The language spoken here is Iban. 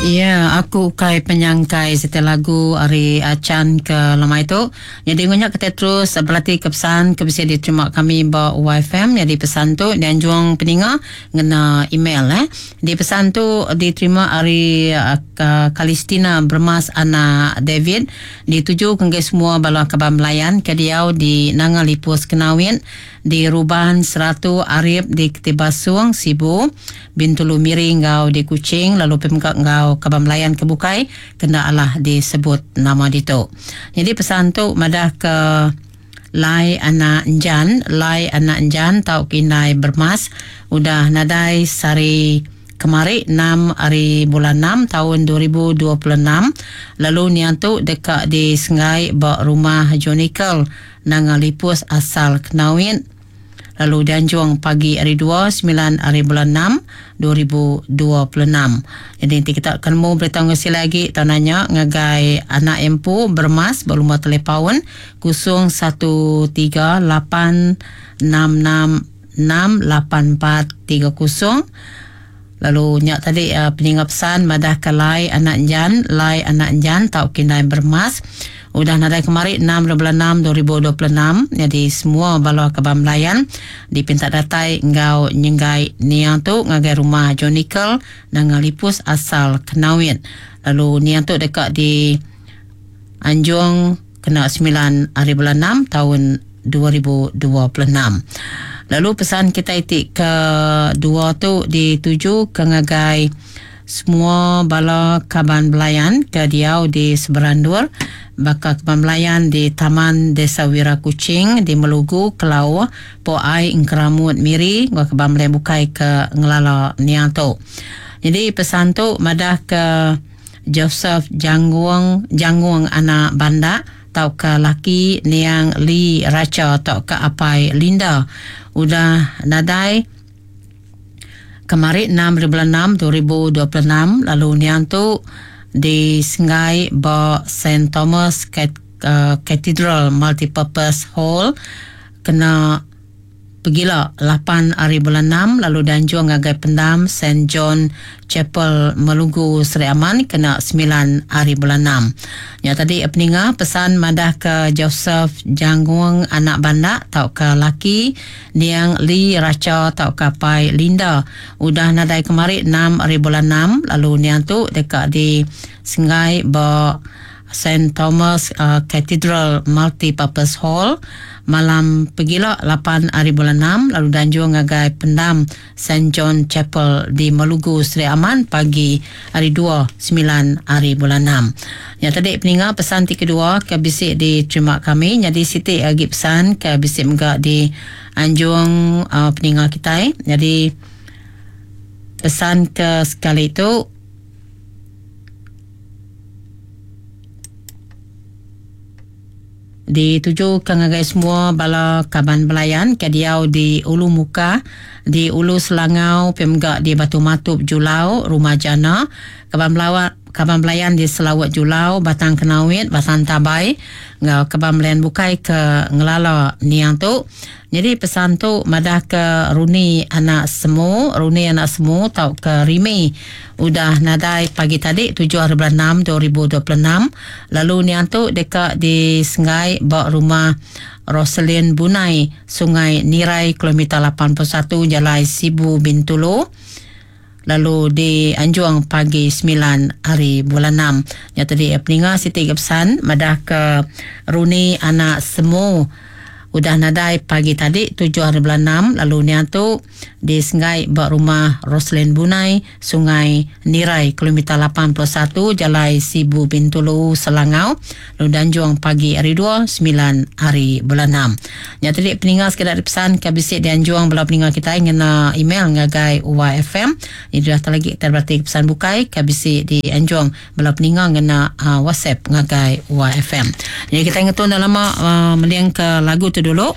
Ya, aku ukai penyangkai siti lagu ari Achan ke lemai tu. Nyadi enggau nya kitai terus berati ke pesan ke bisi diterima kami ba YFM. Nyadi pesan tu dianjung peninga ngena email eh. Di pesan tu diterima ari Kalistina Bermas anak David dituju ke ngagai semua bala kaban belayan ke diau di Nanga Lipus Kenawit di Ruban Seratu Arip di Ketibasung Sibu Bintulu Miri enggau di Kuching lalu pia mega enggau kaban belayan ke bukai ke enda alah disebut nama ditu. Nyadi pesan tu madah ke Lai anak Enjan, Lai anak Enjan tauka indai Bermas udah nadai sehari kemari enam ari bulan enam taun 2026 lalu niang tu deka disenggai ba Rumah Jonical Nanga Lipus asal Kenawit. lalu dianjung pagi hari dua semilan hari bulan enam 2026. Jadi enti kita ke nemu berita enggau silai agi tau nanya ngagai anak iya empu Beremas ba lumur telepaun 013 8 6 6 6 8 4 3 0. Lalu nya tadi peninga pesan madah ke lai anak enjan, lai anak enjan tau kindai beremas. Udah nadai kemari enam dua bulan enam 2026 nyadi semua bala kaban belayan dipinta datai enggau nyenggai niang tu ngagai rumah John Nickel Nanga Lipus asal Kenawit. Lalu niang tu deka di anjung kena semilan hari bulan enam taun 2026. Lalu pesan kitai ti ke dua tu dituju ke ngagai semua bala kaban belayan ke diau di Seberandur baka kaban belayan di Taman Desa Wira Kuching di Melugu, Kelauh, Po Ai, Engkeramut, Miri enggau kaban belayan bukai ke ngelala niang tu. Nyadi pesan tu madah ke Joseph Janggung Janggung anak Bandak tauka laki niang Lee Racha tauka apai Linda udah nadai kemari enam ari bulan enam 2026 lalu niang tu disenggai ba Saint Thomas Cathedral Multipurpose Hall kena Pegila, lapan ari bulan enam lalu dianjung ngagai pendam Saint John Chapel Melugu Sri Aman kena semilan ari bulan enam. Nya tadi peninga pesan madahka Joseph Janggung anak Bandak tauka laki niang Lee Racha tauka apai Linda udah nadai kemari enam ari bulan enam lalu niang tu deka disenggai ba Saint Thomas Cathedral Multi-Purpose Hall malam pegila lapan ari bulan enam lalu dianjung ngagai pendam Saint John Chapel di Melugu Sri Aman pagi hari dua semilan ari bulan enam. Nya tadi peninga pesan ti kedua ke bisi diterima kami nyadi siti agi pesan ke bisi mega dianjung peninga kitai nyadi pesan ke sekali tu. Ditujuka ngagai semua bala kaban belayan ke diau di Ulu Mukah, di Ulu Selangau pia mega di Batu Matup Julau, Rumah Jana, kaban belawa kaban belayan di Selawut Julau, Batang Kenawit, Batang Tabai enggau kaban belayan bukai ke ngelala niang tu. Nyadi pesan tu madahka Runi anak Semu, Runi anak Semu tauka Rimi udah nadai pagi tadi tujuh hari bulan enam 2026 lalu niang tu deka disenggai ba rumah Roselyn Bunai, Sungai Nirai kilometer 81 Jalai Sibu Bintulu lalu dianjung pagi semilan hari bulan enam. Nya tadi peninga siti ga pesan madahka Runi anak Semu udah nadai pagi tadi tujuh hari bulan enam lalu niang tu disenggai ba rumah Roselyn Bunai, Sungai Nirai kilometer 81 Jalai Sibu Bintulu Selangau lalu dianjung pagi hari dua semilan hari bulan enam. Nya tadi peninga sekeda ari pesan ke bisi dianjung bala peninga kitai ngena email ngagai YFM. Nyadi udah tau lagi kitai berati ke pesan bukai ke bisi dianjung bala peninga ngena uh, WhatsApp ngagai YFM. Jadi kitai ngetu enda lama uh, mending ke lagu tu dulu.